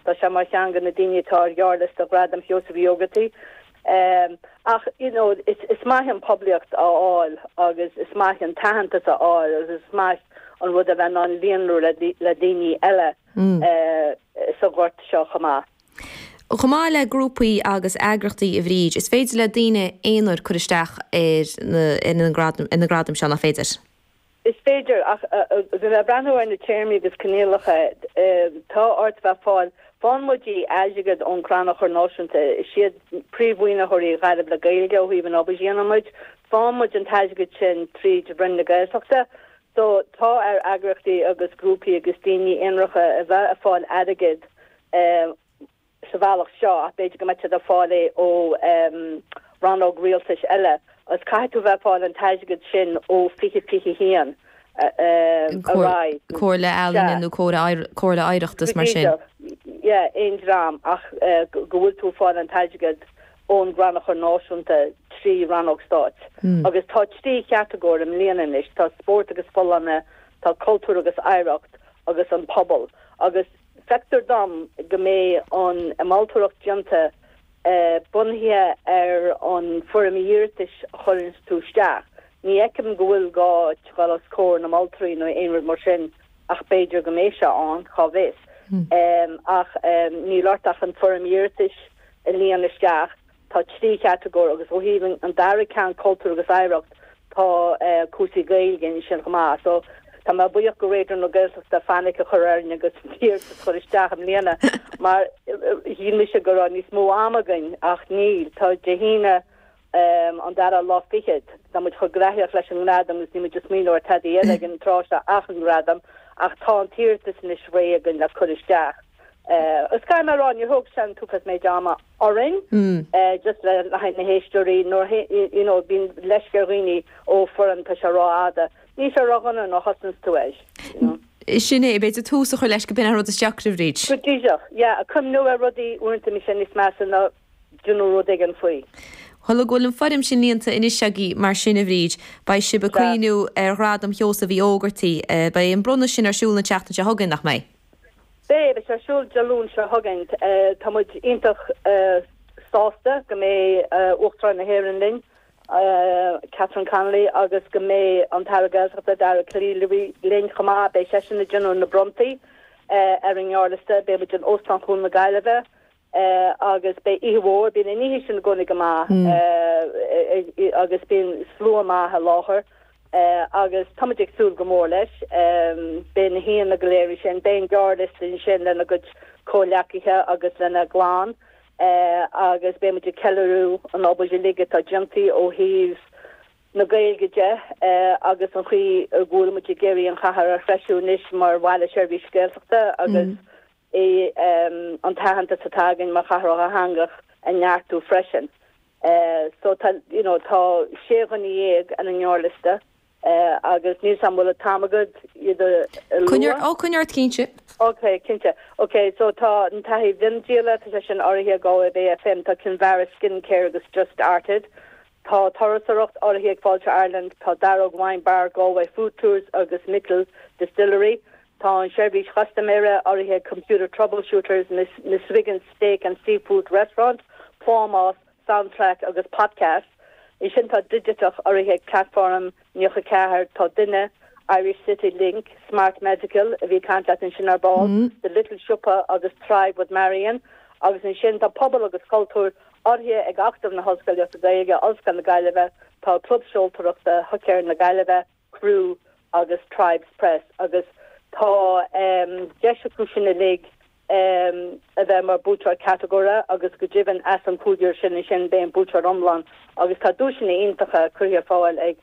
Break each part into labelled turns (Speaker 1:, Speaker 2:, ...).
Speaker 1: Tá sé mar cheann de na daoine atá ar ghearrliosta Ghradam Sheosaimh Uí Ógartaigh. Ach, you know, is maith an poiblíocht a fháil agus is maith an t-aitheantas a fháil agus is maith an rud a bheith in ann líonrú le daoine eile sa ghort seo chomh maith.
Speaker 2: Chomh maith le grúpaí agus eagrachtaí, a Bhríd, is féidir le daoine aonair cur isteach ar na gradaim seo, nach féidir?
Speaker 1: Is féidir, ach bhí mé ag breathnú ar na téarmaí agus coinníollacha, tá ort bheith fáil, faigheann muid airgead ón Crannchur Náisiúnta, is iad príomh-mhaoinitheoirí Ghaillimh le Gaeilge ó thaobh an obair a dhéanann muid, faigheann muid an t-airgead sin tríd Roinn na Gaeltachta. So tá ar eagraíochtaí agus grúpaí agus daoine aonaracha a bheith ag fáil airgead sa bhealach seo ach b'fhéidir go mbeidh siad ag fáil é ó rannóg rialtais eile agus caithfidh tú bheith ag fáil an t-airgead sin ó 2021 ar aghaidh.
Speaker 2: Comhairle Ealaíne nó Comhairle Oidhreachta is mar sin.
Speaker 1: Yeah, aon dream ach go bhfuil tú ag fáil an t-airgead ón gCrannchur Náisiúnta trí rannóg stáit. Agus tá trí chatagóir i mbliana anois, tá spórt agus folláine, tá cultúr agus oidhreacht agus an pobal. Agus Feictear dom go mbeidh an mholtóireacht déanta bunaithe ar an foirm iarratais a chuireanns tú isteach. Ní fheicim go bhfuil gá dul os comhair na moltóirí nó aon rud mar sin ach b'fhéidir go mbeidh sé ann, cá bhfios. Ach níl ort ach an foirm iarratais a líon isteach. Tá 3 chatagóir agus ó thaobh an dara ceann, cultúr agus oidhreacht, tá cúrsaí Gaeilge ansin chomh maith. So tá mé buíoch go Raidió na Gaeltachta fainic a chur orainn agus an t-iarratas a chur isteach i mbliana mar shíl mise go raibh níos mó ama againn ach níl. Tá Dé hAoine an dara lá fichead. Tá muid chomh graitheach leis an ngradam agus níl muid ag smaoineamh ar tada eile ag an tráth seo ach an gradam ach tá an t-iarratas anois réidh againn le cur isteach. Is caithfidh mé a rá, níor thóg sé an t-uafás méid ama orainn, just le haghaidh na héisteoirí, nuair you know, bíonn leisce ar dhaoine, ó, foirm, tá sé rófhada. Níl sé ródhona nuair a thosaíonns tú air, you
Speaker 2: know. Sin é, b'fhéidir tús a chur leis go b'in an rud is deacra, a Bhríd.
Speaker 1: Go díreach, yeah, cuimhniú ar rudaí uaireanta bíonn sé níos measa ná déanamh rud éigin faoi.
Speaker 2: Bhuel, go bhfuil an foirm sin líonta anois agaibh mar sin, a Bhríd, beidh sibh ag cuimhniú ar Ghradam Sheosaimh Uí Ógartaigh. Beidh an bronnadh sin ar siúl an tseachtain seo chugainn, nach mbeidh?
Speaker 1: Beidh, beidh sé ar siúl Dé Luain seo chugainn. Tá muid iontach sásta go mbeidh Uachtarán na hÉireann linn, Catherine Connolly, agus go mbeidh an tAire Gaeltachta, Dara Calleary linn chomh maith. Beidh seisean ag déanamh na bronntaí ar an ngearrliosta. Beidh muid in Óstán Chuan na Gaillimhe. agus beidh oíche mhór, bíonn an oíche sin i gcónaí go maith agus bíonn slua maith i láthair agus tá muid ag súil go mór leis. Beidh na haíonna go léir ansin, beidh an gearrliosta ansin lena gcuid comhleacaithe agus lena gclann agus beidh muid ag ceiliúradh an obair uilig atá déanta ó thaobh na Gaeilge de agus an chaoi go bhfuil muid ag iarraidh an chathair a threisiú anois mar bhaile seirbhíse Gaeltachta agus é an t-aitheantas atá againn mar chathair dhátheangach a neartú freisin. So tá, you know, tá 16 dhuine ar an ngearrliosta agus níl 's a'm bhfuil an t-am agat iad a lua.
Speaker 2: Coinnigh, oh, coinnigh ort cinnte.
Speaker 1: Ok, cinnte. Ok, so tá an taithí mhiondíola, tá sé sin urraithe ag Galway Bay FM, tá Kinvara Skincare agus Just Arted. Tá turasóireacht urraithe ag Fáilte Ireland, tá Darragh Wine Bar, Galway Food Tours agus Micil Distillery. Tá an seirbhís chustaiméara urraithe ag Computer Troubleshooters, Miss Wiggins Steak and Seafood Restaurant, Plámás, Soundtrack agus Podcast. Ansin tá Digiteach urraithe ag Platform 94, tá Duine, Irish City Link, Smart Medical, a bhí ag caint leat ansin ar ball, The Little Siopa agus Thrive with Marion. Agus ansin tá Pobal agus Cultúr urraithe ag Acadamh na hOllscolaíochta Gaeilge, Ollscoil na Gaillimhe, tá Club Seoltóireachta Huscar na Gaillimhe, Crew agus Tribes Press agus tá deis acu sin uilig a bheith mar buaiteoir catagóire agus go deimhin as an cúigear sin ansin beidh an buaiteoir iomlán agus tá duaiseanna iontacha curtha ar fáil ag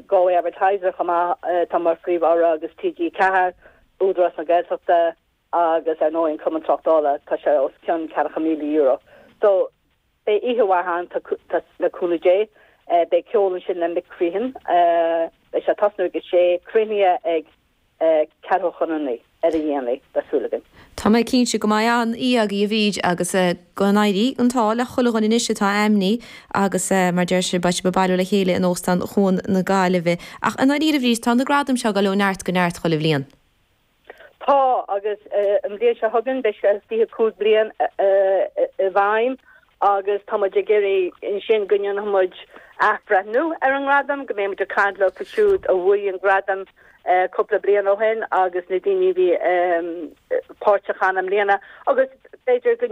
Speaker 1: Galway Advertiser chomh maith atá mar phríomh-urra agus TG4, Údarás na Gaeltachta agus ar ndóigh an Cumann Tráchtála, tá sé os cionn €40,000. So. Beidh oíche mhaith ann, le cúnamh Dé. Beidh ceol ansin le Mick Crehan. Beidh sé ag tosnú ag a sé, críochnaithe ag ceathrú chun a naoi, ar a dhéanaí, tá súil againn.
Speaker 2: Tá mé cinnte go mbeidh an-oíche agaibh a Bhríd agus go n-éirí an t-ádh le chuile dhuine anois atá ainmnithe agus mar deir sibh beidh sibh ag bailiú le chéile in Óstán Chuan na Gaillimhe. Ach i ndáiríre a Bhríd tá na gradaim seo ag dul ó neart go neart chuile bhliain.
Speaker 1: Tá, agus an bhliain seo chugainn beidh sé 25 bliain i bhfeidhm agus tá muid ag iarraidh ansin go ndéanfaidh muid athbhreithniú ar an ngradam, go mbeidh muid ag caint leo siúd a bhuaigh an gradam cúpla bliain ó shin agus na daoine a bhí páirteach ann i mbliana agus b'fhéidir go.